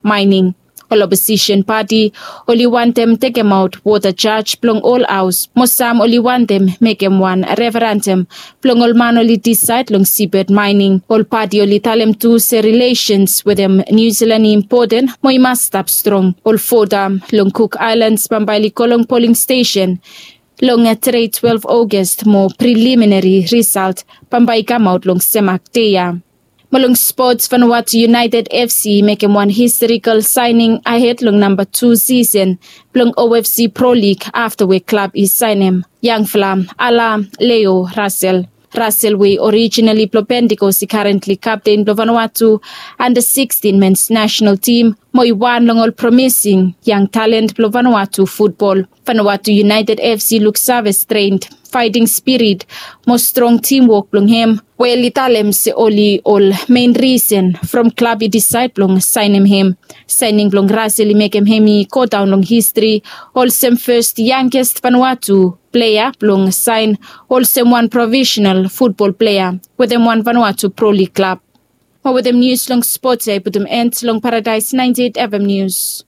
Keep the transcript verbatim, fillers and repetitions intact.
Mining. Ol oposisen pati oli wantem tekemaot wota jaj blong ol haos mo sam oli wantem mekem wan referandam blong ol man oli disaed long sibet mining. Ol pati oli talem tu se rilesens wetem niu silan i impoten mo i mas stap strong. Ol vota long kuk aelans bambae oli go long poling stesen long tede twelve ogast mo priliminari risalt bambae i kamaot long semak dei ya. Mo long spots, vanawatu united fc i mekem wan historikal saening ahed long namba tu sisen blong ofc pro lig afta we klab i saenem yangfala ala leo rasel. Rasel we i orijinali blong pentikos i karentli kapten blong vanawatu anda sixteen mens nasenal tim mo i wan long ol promising yang talen blong vanawatu futbol. Vanawatu united fc i luksave strent, faeting spirit mo strong timwok blong hem we oli talem se oli ol mein risen from klab i disaed blong saenem hem. Saening blong rasel i mekem hem i godaon long histri olsem fes yangest vanawatu plea blong saen olsem wan profesenal futbol plea wetem wan vanawatu pro lig klab. Mo wetem nius long spots ya i putum end long paradaes ninety eight fm nius.